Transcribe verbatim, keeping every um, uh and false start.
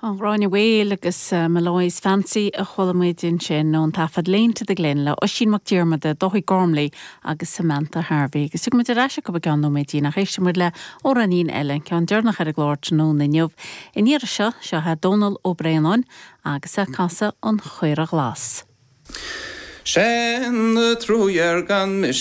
An Ghráinne Mhaol agus uh, Molloy's Fancy a chuala muid ansin ón taifead Lane to the Glen le Oisín Mac Diarmada, Dáithí Gormley agus Samantha Harvey. agus tiocfaidh muid ar ais go ceann nóiméidín ach éistfidh muid le hamhráinín eile ceann deireanach ar an gclár tráthnóna inniu. An iarraidh seo seo é Dónal Ó Braonáin agus é ag casadh an Chaora Ghlas. Sin na trúir gan mis